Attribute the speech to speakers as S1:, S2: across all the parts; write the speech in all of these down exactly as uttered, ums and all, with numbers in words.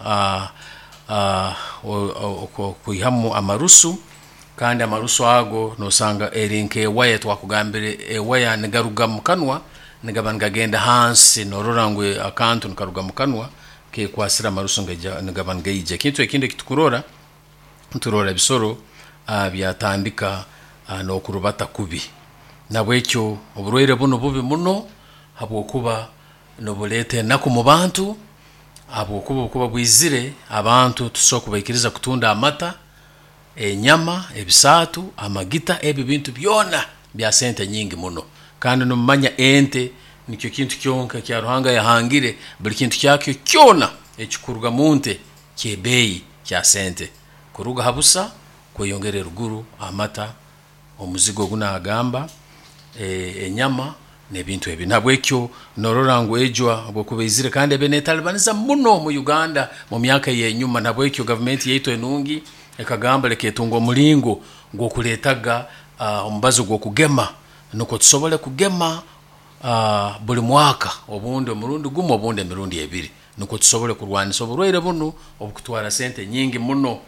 S1: uh, uh, okwihamu amarusu, kandi amarusu ago nosanga eri nk'ewaya, twakugambire ewaya nigaruga mu kanwa nigaba nigagenda hansi, norora ngu akantu nikaruga mu kanwa kekwasire amarusu nigaba nigaija. Ekintu ekindi ekitukurora, nturora ebisoro uh, byatandika uh, n'okurubata kubi. Nabwekyo oburwaire bunu bubi muno, habwokuba nibuleeta enaku mu bantu, habwokuba obukuba bwizire abantu tusobola kubaikiriza kutunda amata, enyama, ebisaatu, amagita, ebi bintu byona bya sente nyingi muno. Kandi nimumanya ente nikyo kintu kyonka ekya Ruhanga yahangire, buli kintu kyakyo kyona ekikuruga mu nte ky'ebeeyi, kya sente, kuruga ha busa kweyongera eruguru, amata, omuzigo ogu nagamba, enyama n'ebintu ebi. Nahabwekyo norora ngu ejwa obu ekuba eizire kandi ebaire neetalibaniza muno mu Uganda mu myaka ey'enyuma, nahabwekyo gavumenti yaitu enungi ekagamba leka etunge omulingo gw'okuleetaga omubazi gw'okugema nukwo tusobole kugema buli mwaka, obundi omurundi gumu obundi emirundi ebiri, nukwo tusobole kurwaanisa oburwaire bunu obukutwaara sente nyingi muno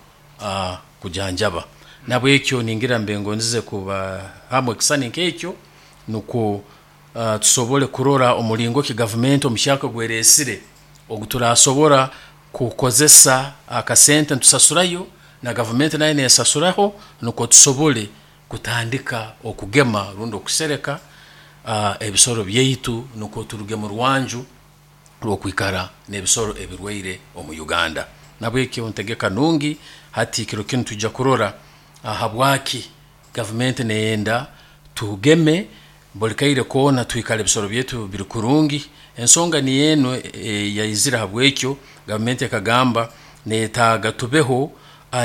S1: kujanjaba. Nahabwekyo ningira mbe ngondeze kubahamu ekisani nk'ekyo nukwo tusobole kurora omulingo ki gavumenti omuhyaka ogu ereesire ogu turasobora kukozesa akasente nitusasurayo na gavumenti nayo nesasuraho nukwo tusobole kutandika okugema rundi okusereka ebisoro byaitu nukwo turuge murwanju rw'okwikara n'ebisoro ebirwaire omu Uganda. Nahabwekyo entegeka nungi, hati kiro kinu nitwiija kurora habwaaki gavumenti neyenda tugeme buli kaire koona twikare ebisoro byaitu biri kurungi. Ensonga niyo enu eyaizire habwekyo, gavumenti ekagamba neyetaaga tubeho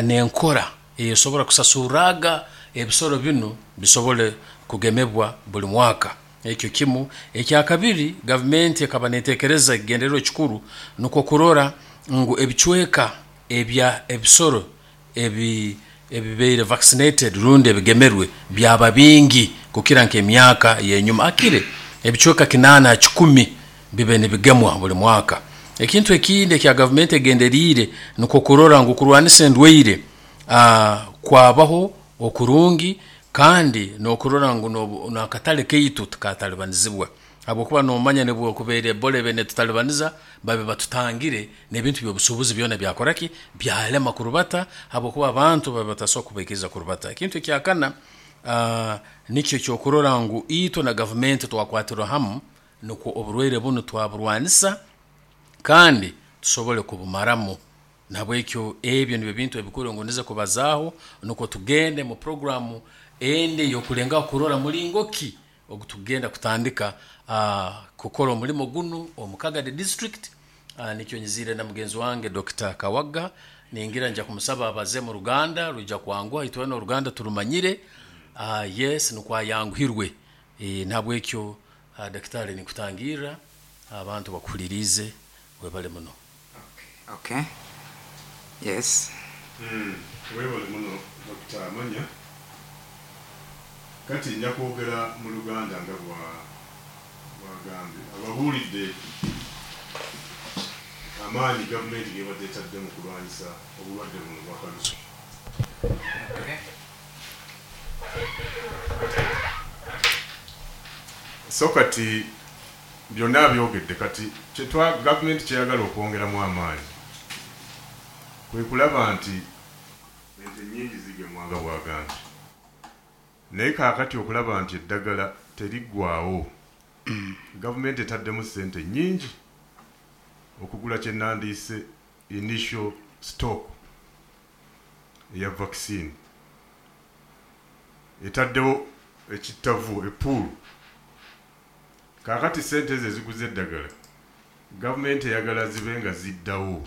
S1: n'enkora esobola kusasurraaga ebisoro binu bisobole kugemebwa buli mwaka, ekyo kimu. Ekyakabiri, gavumenti ekaba netekereza ekigendererwa ekikuru nikwo kurora ngu ebicweeka ebya ebisoro ebi ebibaire vaccinated rundi ebigemerwe byaba bingi kukira nk'emyaka ey'enyuma, hakire ebicweeka kinaana ha kikumi bibe nibigemwa buli mwaka. Ekintu ekindi eki gavumenti egenderiire nikwo kurora ngu kurwaanisa endwaire kwabaho okurungi kandi nokurora ngu n'akatare kaitu tikatalibanizibwa, habwokuba nomanya nobu ekubaire Ebola ebaire netutalibaniza, babe batutangire n'ebintu by'obusuubuzi byoona byakoraki, byarema kurubata habwokuba abantu babaire batasobola kubaikiriza kurubata. Ekintu ekyakana nikyo ekyokurora ngu itwe na gavumenti twakwatira hamu nukwo oburwaire bunu twaburwaanisa kandi tusobole kubumaramu. Nahabwekyo ebi nibyo bintu ebikuru ebingondeze kubazaaho nukwo tugende mu program endi eyokulengaho kurora muringo ki ogu tukugenda kutandika kukora omurimo gunu omu Kagadi district. Nikyo nyiziire na mugenzi wange Doctor Kawaga, ningira nija kumusaba abaze muruganda, rwiija kwanguha, itweena oruganda turumanyire, yes nukwo ayanguhirwe. Nahabwekyo dakitaari ninkutangirra, abantu bakuhuliriize, webale muno.
S2: Okay. Yes.
S3: Webale muno Doctor Amanya. Kati nja kwogera mu Luganda nga bwagambye. Ababuulidde amaanyi gavumenti gebadde etadde mu kulwanyisa obulwadde buno obwa kalusu.
S2: Okay.
S3: So kati byonna byogedde, kati kyetwa gavumenti kyeyagala okwongeramu amaanyi kwe kulaba nti ente nnyingi zigemwa nga bwagambye, naye kaakati okulaba nti eddagala teriggwawo, gavumenti etaddemu ssente nnyingi okugula kye nandiise initial stock eya vaccine. Etaddewo ekittavu, epool. Kaakati ssente ezo eziguza eddagala gavumenti eyagala zibe nga ziddawo,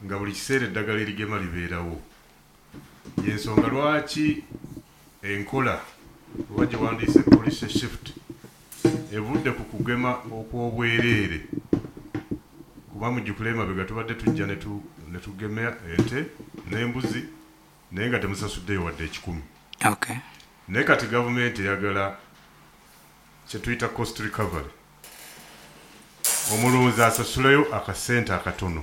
S3: nga buli kiseera eddagala erigema libeerawo. Yensonga lwaki enkola oba gye wandiise policy shift evudde ku kugema okw'obwereere, kuba mujjukire emabega tubadde tujja ne tugema ente n'embuzi naye nga temusasuddeyo wadde ekikumi.
S2: Okay.
S3: Naye kati gavumenti eyagala kye tuyita cost recovery, omulunzi asasuleyo akasente akatono.